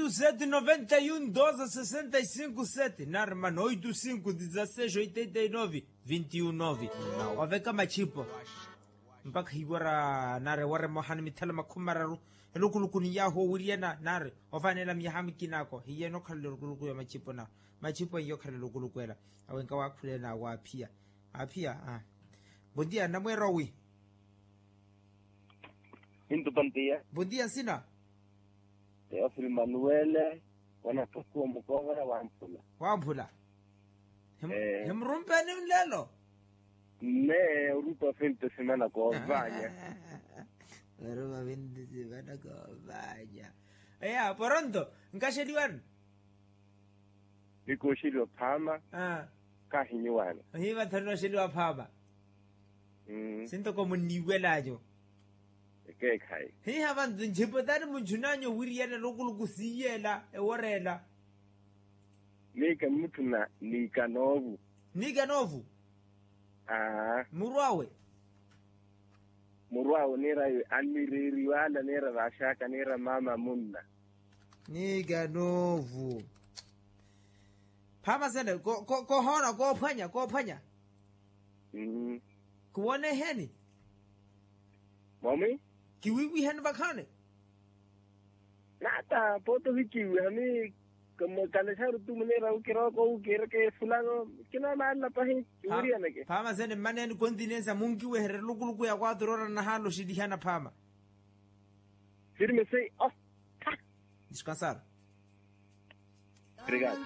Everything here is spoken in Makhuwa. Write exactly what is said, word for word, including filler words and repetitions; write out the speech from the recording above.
Sete noventa e um doze sessenta e cinco sete nari mana oito cinco dezasseis oitenta e nove vinte e um nove. Oveka machipo mpakha hiwara nari ewara emoha ni mithala makhumi mararu. Elukuluku ni yahu owiriyana nari ovaneela miyaha mikinako hiyena okhala elukuluku ya machipo na machipo eyo okhala elukuluku ela. Awenka wakhulena waphiya aphiya. Bondia namweera owi? Pintu pantiya. Bondia nsina? Teofili manuwele. Wanathukuwa mukoovela wamphula. Wamphula. Himurumpeni nlelo? Mme orupa finto simana koovanya. Orupa finto simana koovanya. Eya poronto nkaxeliwani. Nikooxeliwa phama. Kahinyiwana. Ohiiva thanu nooxeliwa phama. Sintoko munniiwelanyu. Ekeekhayi. Hiiha vantu nchipo tani munchunanyu owiriyana elukuluku siiyela eworeela. Miika mutthuna niikanoovu. Niikanoovu. Aa. Murwawe. Murwawe niira anireeriwala niira vaxaka niira mama munna. Niikanoovu. Phama sene kohoona koophwanya koophwanya. Kiwoneheni. Momi. Kiwiwiheni vakhaani. Nata pooti ohikiwiha mi. Kalexaru tu muniira ukirooko ukiireke fulano. Kinoomaalela pahi kiwiriyaneke. Phama sene mmaneeni continensa munkiweherya elukuluku ya quatro horas nahaala oxilihana phama. Firme sei. Descansar. Obrigado.